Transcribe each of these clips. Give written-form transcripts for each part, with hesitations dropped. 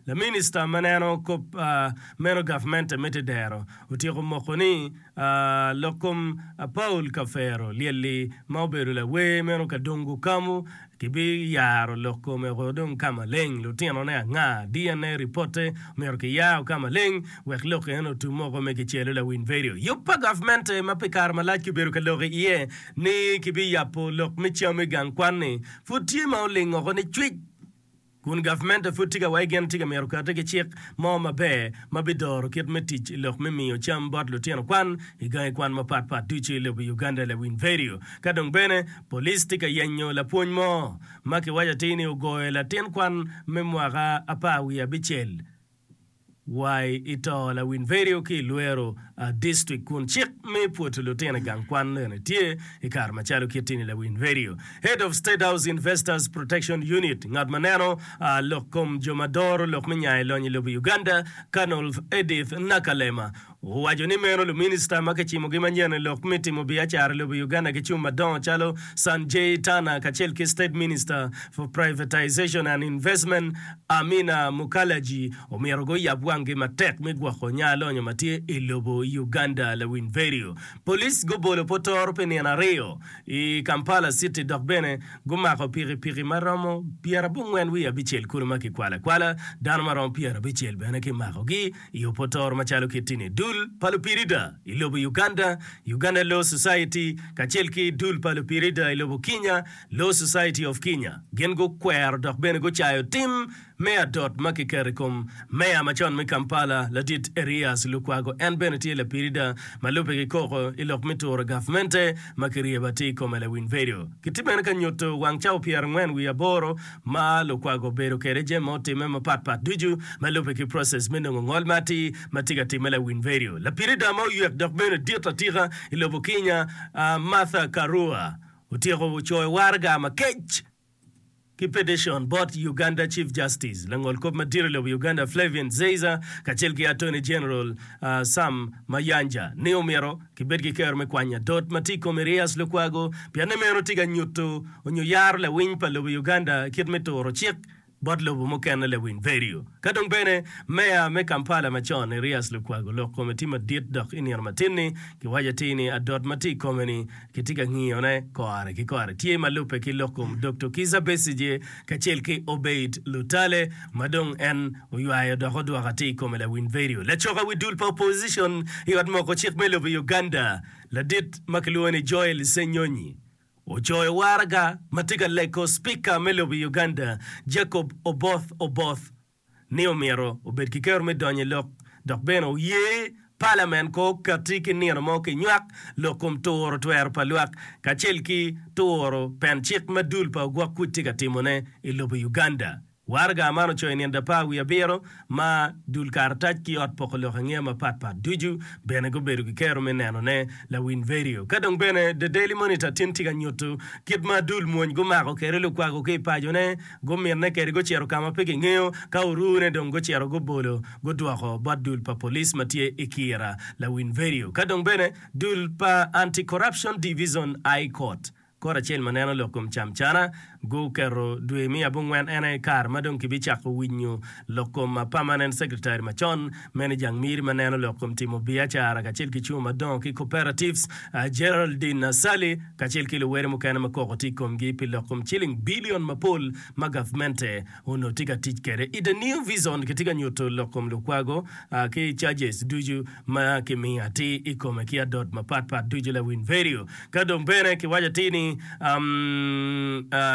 Laminista ma neno kop meno gavmente me tedero otyeko moko ni lok kom Paul Kafero lyelli ma obedo lawer meno Kadongo Kamu kibiyaro lok kome woko dong ka maleng. Lutinone anga? DNA ripotte myero kiyar ka maleng wek lok eno otum woko me kicelo lawiny vedio. Yub pa gavmente ma pi kare malac kibedo ka lok iye ni kibiyabo lok me cam i gang kwan-ni pud tye ma oling woko ni cwic. Kun gavmente pud tye ka wai gin tye ka myero okati ki cik mo maber ma bidoro kit me tic i lok me miyo cam bot lutino kwan i gangi kwan mapat pat ducu i lobo Uganda lawiny vedio. Ka dong bene, police tye ka yenyo lapwony mo ma kiwaco atir ni ogoyo latin kwan me mwaka 17. Wai i to lawiny vedio ki i Luero District kun cik me pwoto lutino i gang kwan bene tye i kare macalo kit tini lawiny vedio. Head of State House Investors Protection Unit, ngat ma neno lok kom jo ma doro lok me nyayo lonyo i lobo Uganda, Colonel Edith Nakalema Owaco ni meno luminista ma kicimogi manyen i lok me timo biacara i lobo Uganda ki cum madongo calo Sanjay Tanna kacel ki State Minister for Privatization and Investment Amina Mukalaji omyero guyab wanggi matek me gwoko nya lonyo ma tye i lobo Uganda. Lawiny vedio. Police gubolo potoro pi nino aryo i Kampala City dok bene gumako pikipiki ma romo 96 kulu ma kikwalo akwala. Dano ma romo 90 bene kimakogi. I opotoro macalo kit-ti-ni, dul pa lupirida i lobo Uganda, Uganda Law Society, kacel ki dul pa lupirida i lobo Kenya, Law Society of Kenya, gin gukwero dok bene gucayo tim me adot ma kiketo i kom Meya macon me Kampala, Ladit Erias Lukwago. En bene tye lapirida ma lubbe ki koko i lok me turo gavmente ma kiryebo atir i kome lawiny vedio. Kitye bene ka nyuto wang cawa 48 ma Lukwago obedo kwede jami ma otimme mapat pat ducu ma lubbe ki process me nongo ngol ma atir ma tye ka timme lawiny vedio. Lapirida ma oywek dok bene dit atika i lobo Kenya, Martha Karua otyeko coyo waraga makec ki petition bot Uganda Chief Justice, langol kop madit i lobo Uganda Flavian Zeiza kacel ki Attorney General Sam Mayanja ni omyero kibed ki kero me kwanyo adot ma tye i kom Erias Lukwago pien ni meno tye ka nyuto onyo yaro lawiny pa lobo Uganda kit me turo cik bot lobo mukene lawiny vedio. Ka dong bene Meya me Kampala macon Erias Lukwago lok kome tye madit dok i nino matin-ni kiwaco atir ni adot ma tye i kome-ni kitye ka ngiyone kore ki kore tye ma lubbe ki lok kom Doktor Kizza Besigye kacel ki Obeid Lutale ma dong en oywayo dok odwoko atir i kome lawiny vedio. Lacoka wi dul pa opposition i ot moko cik me lobo Uganda ladit ma kilwongo ni Joel Ssenyonyi ocoyo waraga ma tye ka leko Spika me lobo Uganda Jacob Oboth Oboth ni omyero obed ki kero me donyo i lok dok bene oye Palamen ko okati ki nino mo kinywak lok kom turo twero pa lwak kacel ki turo pen cik ma dul pa ogwok kuc tye ka timone i lobo Uganda. Waraga man ocoyo i nino apar wiye abiro ma dul karatac ki ot poko lok angeya mapat pat ducu bene gubedo ki kero me nenone lawiny vedio. Ka dong bene The Daily Monitor tin tye ka nyuto kit ma dul mwony gumako kwede Lukwago ki i pacone, guminne kwede gucito ka ma pe kingeyo, ka orune dong gucito gubolo gudwoko bot dul pa police ma tye i Kira lawiny vedio. Ka dong bene dul pa Anti-Corruption Divison I Court Kot acel ma neno lok kom camcana guketo dwe me abongwen en aye kare ma dong kibicako winyo lok kom Permanent Secretary macon meno i jang miri ma neno lok kom timo biacara kacel ki cungo madongo ki cooperatives Geraldine Asali kacel ki luwere mukene ma koko tye i komgi pi lok kom ciling bilion mapol ma gavmente onongo tye ka tic kwede. I The New Vision kitye ka nyuto lok kom lukwago ki charges ducu ma kimiyo atir i kome ki adot mapat pat ducu lawiny vedio. Ka dong bene kiwaco atir ni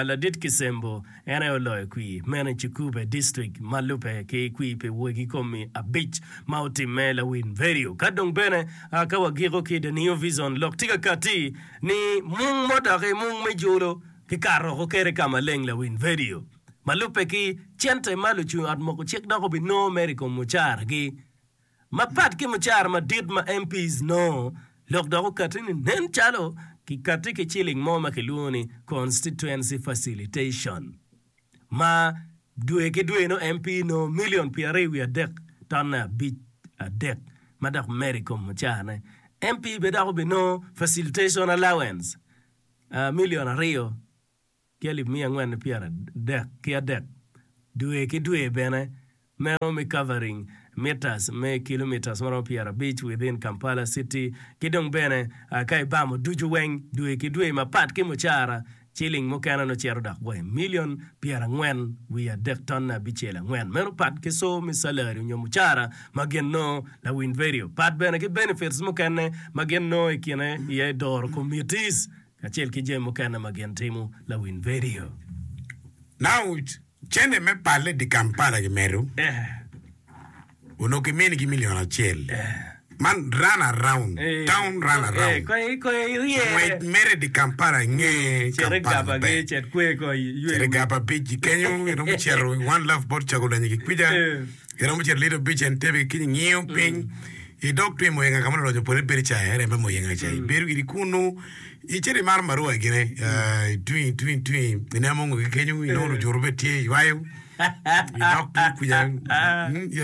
ladit Kisembo en aye oloyo kwir meno i Kikuube District ma lubbe ki kwir pi wegi komi abic ma otimme lawiny vedio. Ka dong bene ka wagiko ki The New Vision lok tye ka kati ni mung mo doki mung me jolo kikato woko kwede ka maleng lawiny vedio. Ma lubbe ki cente ma lucung ot moko cik dok obinongo mere i kom mucaragi, mapat ki mucara madit ma MPs nongo, lok dok okatti ni nen calo kikatti ki ciling mo ma kilwongo ni Constituency Facilitation ma dwe ki dwe nongo MP nongo milion pyeraryo wiye adek tonne abic adek ma dok medo i kom mucarane. MP bene dok obinongo Facilitation Allowance milion aryo. ki alip miya angwen ki pyeradek ki adek dwe ki dwe bene. Meno me covering meters me kilometers maromo 50 within Kampala city ki dong bene ka ibamo ducu weng dwe ki dwe mapat ki mucara ciling mukene nongo cito dok wa i million 40 wiye adek tonne abicel angwen. Meno pat ki co me salary nyo mucara ma gin nongo lawiny radio. Pat bene ki benefits mukene ma gin nongo i kine iye doro committees kacel ki jami mukene ma gin timo lawiny radio. Now Cente me palle di Kampala kimedo onongo kiminigi million acel. Man run around, town run around. Ngwec mere di Kampala inge Kampala maber. Cit i Gaba Beach kenyo iromo cito One Love bot Cagulanyi ki kwica, iromo cito Little Beach Entebbe ki kenyo ingiyo piny idok tye i Muyenga ka ma luloc opole bedo ca, area me Muyenga ca ibedo giri kunu. Icito imaro marua gine, itwi itwi itwi ineno mongo ki kenyo inongo lujuru bene tye iywayo idok tung kuca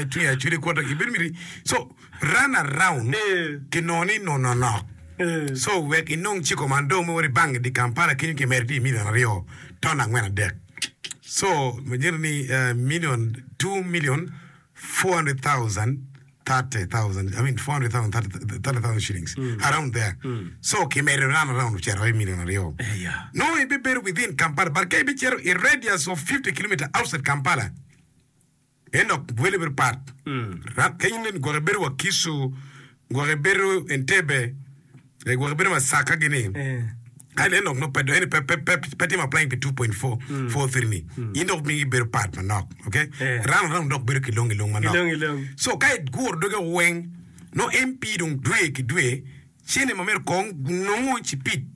itwi acwali ikwoto ibedo miti so run around kinongo ni nongo nonok so wek inong ciko man dong me wot i bank i Kampala kenyo kimedo tye i million aryo ton angwen adek so manyuto ni million 2 million 400,000 30,000 I mean 400,000 30,000 shillings around there so kimedo round around ocito i million aryo nongo ibibedo within Kampala but ka ibicito i radius of 50 kilometer outside Kampala en dok wele bedo pat Ra- kenyo nen gwok ibedo Wakiso gwok ibedo Entebbe eh, gwok ibedo Masaka gini Ai en dok nongo pe en pe pe pe pe timo applying pi 2.4 43 ni in dok mingi bedo pat manok okay Eh. round round dok bedo kilong ilong manok Kilong ilong. so ka iguro doge weng no MP dong dwe ki dwe cene ma myero kong nongo cipid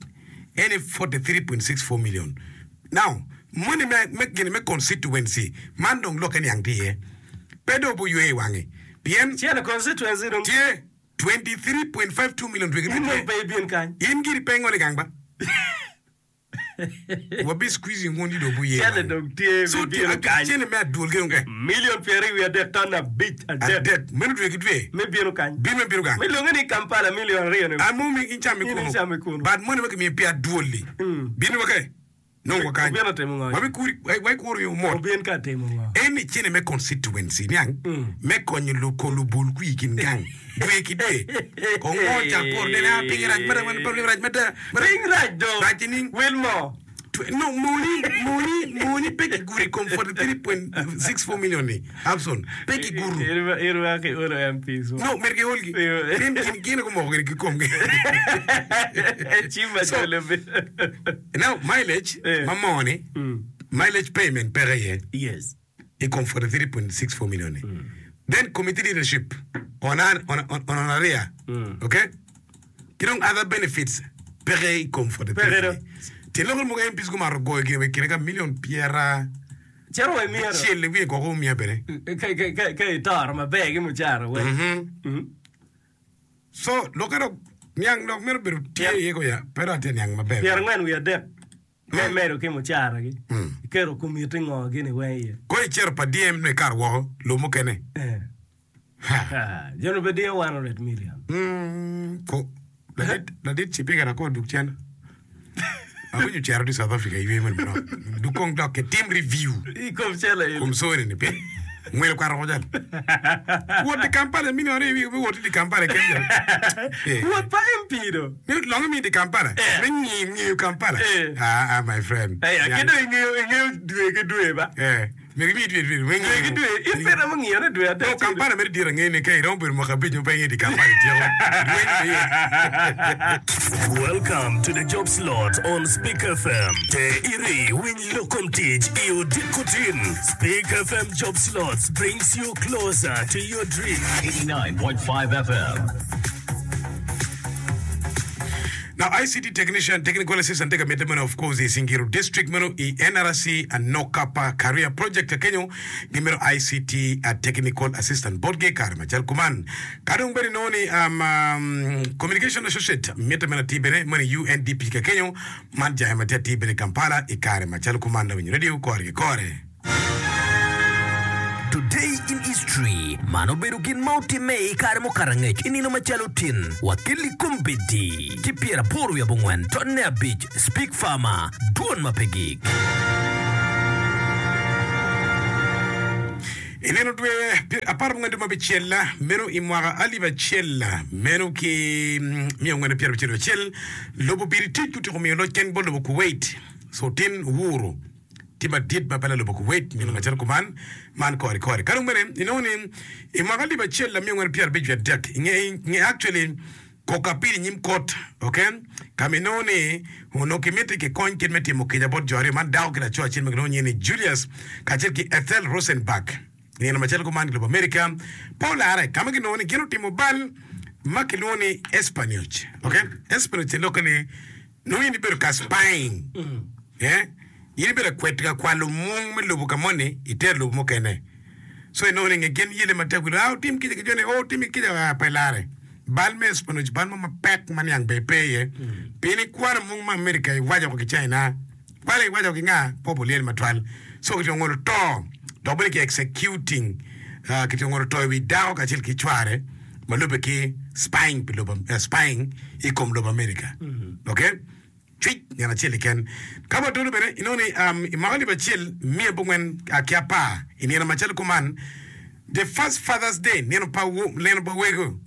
en 43.64 million now moni me me gini me constituency man dong lokke niang tye iye pe dong obuywe i wange pien Cene constituency dong tye 23.52 million dwe ki dwe In dong tye. pe ibin kany. In giri pe ingolo i gang ba? Wabi squeezing wun ci dong wuye Cente wang. dong tye So bibino tye kany. cente me adwol ki dong eh. Million pyeraryo wiye adek ton abic adek Adek. Meno dwe ki dwe. me bino kany. Bin me bino gang. Me lwonge ni Kampala million aryo ni. An mo mi in cam In ikunu. icam ikunu. But moni ma kimiyo pi adwol-li. Bin wa ke. Nongo wa kany. Obino timo ngo? Wabikuri, waikuro yo mot. Obin ka timo ngo? En ni cene me constituency niang me konyo luko lubul kwi i kin gang dwe ki dwe. Kong ngo cak poro nene a piny rac mada wan piny rac mada. Piny rac do. Rac nining? Wil mo. No moni moni moni pe kiguro i kom 43.64 million ni Abson pe kiguro. Irwako iolo MPs mo. No myero giolgi. Pien gin gin gumoko gin kikomgi. Cim macol obedo. Now mileage Eh. ma moo ni mileage payment peke iye Yes. i kom 43.64 million ni. Then committee leadership on an on on on honoraria. Okay? Ki dong other benefits peke i kom 43. Peke do. Tyen lok mogo MPs gumato goyo gin i kine ka million pyera Cito wa i myero. acel i wiye gwoko omiya bene. Ka ka ka ka itoro maber ki mucara weng. Mhm. So lokke dok niang dok mito bedo tye iye ko ya pe dok atye niang maber. Pyerangwen wiye adek me medo ki mucaragi iketo komiti ngo gini weng iye. Ko icito pa DM nongo ikato woko lub mukene. Ha. Joni pe diyo 100 million. Mm, ko ladit ladit cipika na ko duk cen. Awinyo cero di South Africa iywe moni manok. Duk kong dok ke tim review. I kom cele eni. Kom sori ni pien ngwelo kwaro ko jal. Wot di Kampala mini ore wi wot di Kampala ken jal. Eh. Wot pa MP do. Ni longe mi di Kampala. Eh. Me ngi ngiyo Kampala. Eh. Ah ah my friend. Eh, ki dong ingeyo ingeyo dwe ki dwe ba. Eh. Myero imi dwe dwe dwe Dwe ki dwe, in pe iromo ngiyo ni dwe adek No, Kampala mere dit angeyo ni ka iromo bedo mwaka abic ma pe ingeyo di Kampala ityeko rweny pe iye. Welcome to the job slot on Speak FM. Te iri winy lok kom tic i odiko tin. Speak FM job slots brings you closer to your dream. 89.5 FM. Now ICT technician, technical assistant tye ka mitte meno of course i Singiro district meno i NRC Anokapa Career Project kenyo gimito ICT technical assistant botgi i kare macal kuman. Ka dong bene inongo ni um, um, communication associate mitte meno atir bene meno i UNDP ka kenyo man jange ma tye atir bene i Kampala i kare macal kuman lawiny radio kore ki kore. Today in History, Man obedo gin ma otimme i kare mukato angec i nino macalo tin wa ki kombeddi ki pyeraboro wiye abongwen tonne abic Speak Farmer, Dwon ma pe gik. I nino dwe aparabongwen dwe me abicel meno i mwaka alip acel meno ki miya angwen pyerabicel wiye acel, lobo Biritic gutyeko miyo loc ken bot lobo Kuwait. So tin owuro tye madit ma pe lobo Kuwait nyo macalo kuman man kore kore. Ka dong bene inongo ni i mwaka alip acel miya angwen pyerabic wiye adek i nge actually Koko apil i nyim kot, ok, ka ma inongo ni onongo kimiti kikony kit me timo kica bot jo aryo man, dako ki laco acel ma kilwongo nyinge ni Julius kacel ki Ethel Rosenberg. I nino macalo kuman i lobo Amerika, pe olare ka ma kinongo ni gin otimo bal ma kilwongo ni espionage, ok. Espionage te lokke ni nongo in ibedo ka spying, eh, in ibedo ka kweto ka kwalo mung me lobo ka moni itero lobo mukene. So inongo ni nge gin yele matek wi ah otim kica ki joni, oh otim kica, ah pe lare. Bal me espionage bal mo mapek ma niang bene pe iye. Pien ikwano mung me America iwaco ko ki China, kwalo iwaco ki nga pe obulyel matwal. So kitye ngolo to dok bene ki executing ah, kitye ngolo to i wi dako kacel ki cware ma lube ki spying pi lobo, eh, spying i kom lobo America. Okay? Cwic nino acel keken. Ka watolo bene, inongo ni i mwaka alip acel miya abongwen ki apar, i nino macalo kuman, the first Father's Day, nino pa nino pa wego,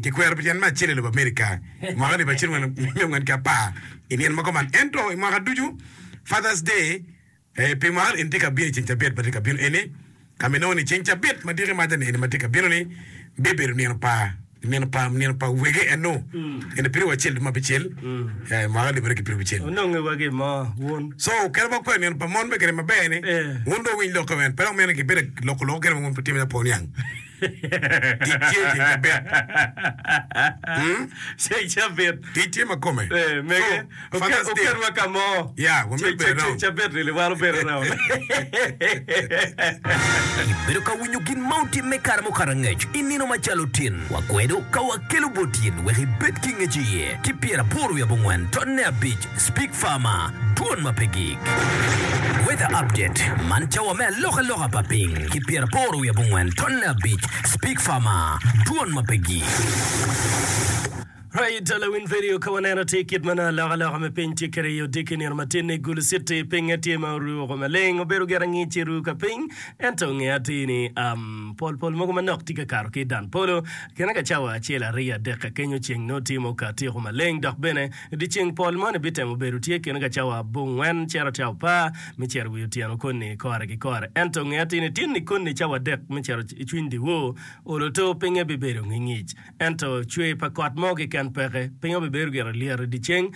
kikwero pi tyen me acel i lobo Amerika i mwaka alip acel miya abongwen ki apar i nino ma kuman. Ento i mwaka ducu, Father's Day Pi mwaka eni tye ka bino i ceng cabit ma tye ka bino eni, ka ma inongo ni ceng cabit ma diki maca ni eni ma tye ka bino ni bibedo nino pa nino pa nino pa wege eno eni piri wacel dwe me abicel mwaka alip aryo ki piri abicel. Ononge wa gin mo wun. So kadi wa kwero nino pa mon me kede maber ni wun dong wuwiny lok men pe dok meno gibedo loko loko kede ma wun pe timo apo niang. Tic tye i ceng cabit. Ceng cabit. Tic tye ma kome. Eh, mege. So, Father's Day. Oketwa ka mo. Yeah, we Ceng bedo ceng around. cabit ni wan obedo around. Ibedo ka winyo gin ma otimme kare mukato angec i nino macalo tin. Wakwedo ka wakelo bot in wek ibed ki ngec iye ki pyeraboro wiye abongwen tonne abic Speak Farmer, Dwon ma pe gik. Weather Update, Man cawa me alokaloka pa piny ki pyeraboro wiye abongwen tonne abic Speak Farmer, Dwon ma pe gik. Right, lawiny vedio ka waneno atir kit ma nongo alokaloka me piny tye kwede i odiki nino matin-ni, Gulu City pinye tye ma oruu woko maleng, obedo gire ngic i ruu ka piny, ento nge atir ni um, pol pol mogo manok tye ka kato ki i dan polo. Kine ka cawa acel, aryo, adek ka kenyo ceng nongo tye ma okati woko maleng, dok bene dyeceng pol moni bitemo bedo tye kine ka cawa abongwen cito cawa apar me cito wi otyeno koni kore ki kore. Ento nge atir ni tin-ni koni cawa adek me cito i cwiny dyewor, olo to pinye bibedo ngingic. Ento cwer pa kot mo keken peke. Piny obibedo gire lyet i dyeceng,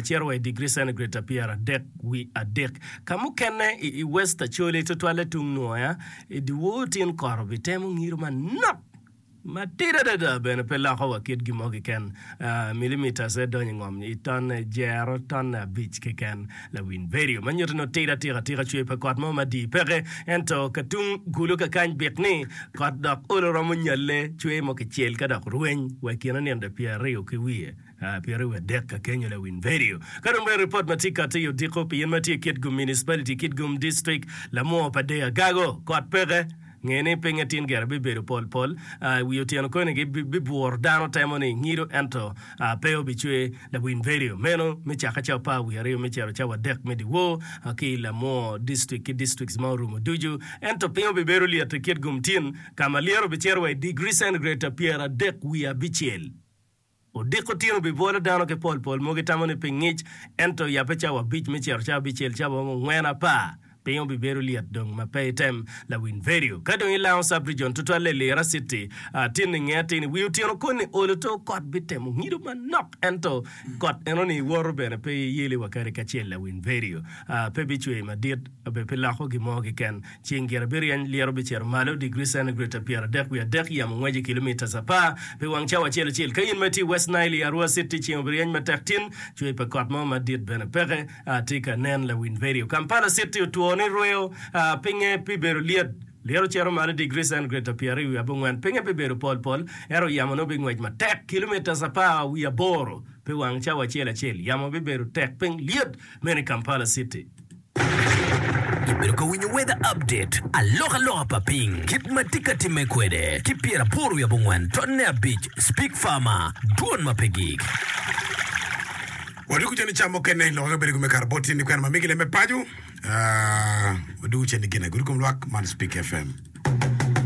cito wa i digri centigrade 33. Ka mukene i West Acholi, tutwalle tung Nwoya, i dyewor tin kot obitemo ngido manok matidi adada bene pe loko wa kit gin mo keken. Millimeters aye donyo i ngom i tonne jero tonne abic keken. Lawiny vedio ma nyuto ni otidi atika atika cwer pa kot mo madii peke ento ka tung kulu kakany bik ni kot dok olo romo nyalle cwer mo kicel ka dok rweny wa i kine nino pyeraryo ki wiye pyeraryo wiye adek ka kenyo lawiny vedio. Ka dong bene ripot ma tye kati i odiko pi in ma tye i Kitgum Municipality, Kitgum District, lamwo pa Deya Gago kot peke. Nge ni pinye tin gire bibedo pol pol i wi otyeno koni gi bibwuro dano temo ni ngido ento pe obicwe lawiny vedio meno me cake cawa apar wiye aryo me cito cawa adek me dyewor ki i Lamwo district ki districts ma orumo ducu. Ento piny obibedo lyet i Kitgum tin ka ma lyeto obicito wa i degree centigrade 37 wiye abicel. Odiko tin obibwolo dano ki pol pol mogo itamo ni piny ngic, ento yabbe cawa abic me cito cawa abicel cawa romo ngwen apar, piny obibedo lyet dong ma pe item lawiny vedio. Ka dong ilango sub region tutwalle i Lira city, tin inge atir ni wi otyeno koni olo to kot bitemo ngido manok ento kot enoni iwoto bene pe iyeli wa kadi kacel lawiny vedio. Pe bicwer madit be pe loko gin mo keken. Ceng gire biryeny, lyero bicito malo digri centigrade 33.3, yamo ngweco i kilomitas apar pi wang cawa acel acel. Ka in ma itye i West Nile i Arua City, ceng obiryeny matek tin, cwer pa kot mo madit bene peke. Tye ka nen lawiny vedio. Kampala City otwo ni rweyo pinye pi bedo lyet. Lyero cito malo digri centigrade 29, pinye pi bedo pol pol, ento yamo nongo bingwec matek kilomitas apar wiye aboro pi wang cawa acel acel. Yamo bibedo tek piny lyet meno i Kampala City. Ibedo ka winyo Weather Update, alokaloka pa piny, kit ma tye ka timme kwede, ki pyeraboro wiye abongwen tonne abic, Speak Farmer, dwon ma pe gik. Wadwogo cen i cam mukene, lok ka bedo gum me kato bot tye ni kwena ma migi lem me paco. Wadwogo cen i gin agudo kom lwak man Speak FM.